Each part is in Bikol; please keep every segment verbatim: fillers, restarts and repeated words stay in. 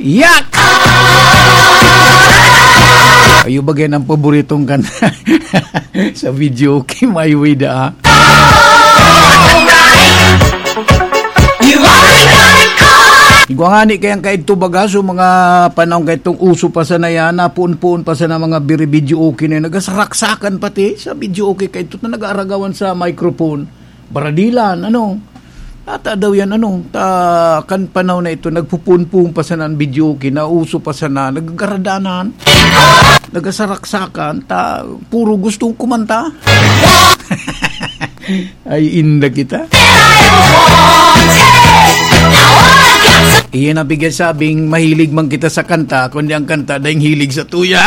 Yak! Ayo ba yan ang paboritong kanta sa video? Okay, my way da, ah. Igwa nga ni kayang kaidto baga, so mga panahon kaidtong uso pa sana yan, napuon-puon pa sana mga biri-video okay na yun. Nagasaksakan pati sa video okay kaidto na nag-aaragawan sa microphone. Baradilan, ano? Ata daw yan, ano? Ta, kan panahon na ito, nagpupuon-puon pa sana ang video okay, nauso pa sana, nagagaradanan, nagasaraksakan, ta, puro gustong kumanta. Ay, inda kita. Iyan ang bigyan sabing mahilig man kita sa kanta, kundi ang kanta dahil hilig sa tuya.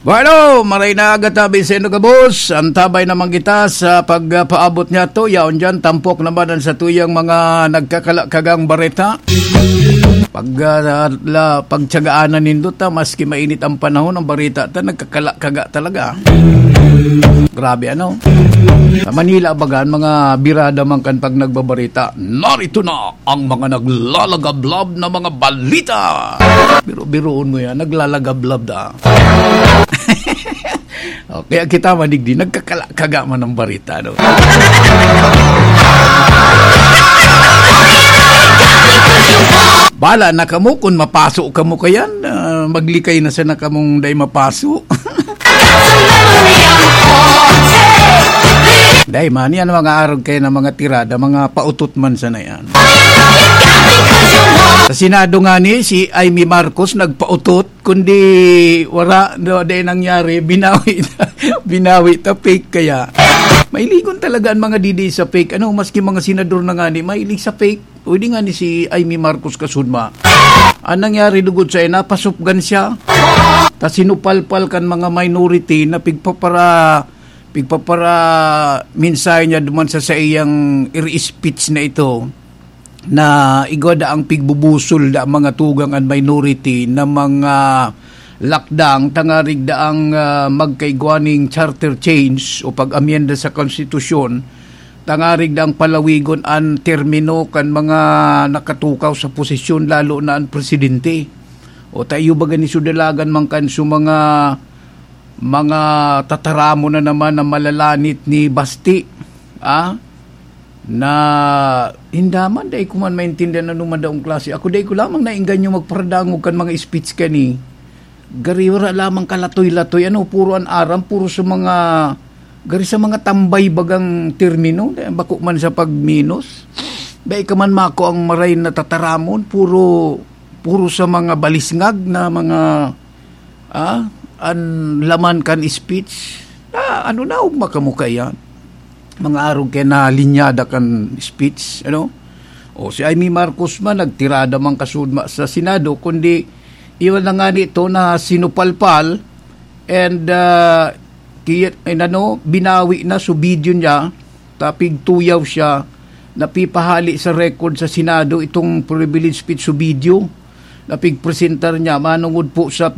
Bueno, maray na aga tabi sa inyo gabos. Antabay naman kita sa pagpaabot niya to. Yaon dyan, tampok naman ang sa tuyang mga nagkakalakagang bareta. Pag, ah, la, pagtsagaanan nindo ta, maski mainit ang panahon, ang bareta ta, nagkakalakaga talaga. Grabe, ano? Sa Manila, baga, ang mga birada man kan pag nagbabarita, narito na ang mga naglalagablab na mga balita. Biro-biroon mo yan, naglalagablab da. O, kaya kita madigdi, nagkakalakaga man ang barita, no? Bala na kamo kung mapaso kamo kayan, ah, maglikay na sana kamong dai mapaso. Dai man, yan mga arog kayo na mga tirada, mga pautot man sana yan. Sa Senado nga ni, si Imee Marcos nagpautot, kundi wala, no, dai nangyari, binawi, binawi ta fake kaya. Mailigon talaga ang mga didi sa fake. Ano, maski mga senador na nga ni, mahilig sa fake. Pwede nga ni si Imee Marcos kasudma. Ang nangyari lugod sa iya, napasupgan siya. Ta sinupalpal kan mga minority na pigpapara, pigpapara mensahe niya duman sa saiyang iri speech na ito, na igwa da ang pigbubusol da ang mga tugang an minority na mga lakdang tangarig da ang, ah, magkaigwa ning charter change o pag-amyenda sa konstitusyon, tangarig da ang palawigon an termino kan mga nakatukaw sa posisyon, lalo na an presidente. O tayo ba gani sudalagan man kan su mga, mga tataramon na naman na malalanit ni Basti, ah, na inda man, dai ko man maintindihan ano man daong klase. Ako, dai ko lamang naengganyo magparadangog kan mga speech kani. Gari, wala lamang kalatoy-latoy, ano, puro an aram, puro sa mga, gari sa mga tambay bagang termino, dai, bako man sa pagminos. Dai ka man mako ang maray na tataramon, puro, puro sa mga balisngag na mga, ah, an laman kan speech. Ah, ano na, ugma kamo kaiyan? Mga arog kay na linyada kan speech, ano? O, si Imee Marcos man, nagtirada man kasudma sa Senado, kundi iwan na nga nito na sinupalpal and, ah, ki-, inano, binawi na su video niya, tapig tuyaw siya, napipahali sa record sa Senado itong privilege speech su video, napigpresentar niya, manungod po sa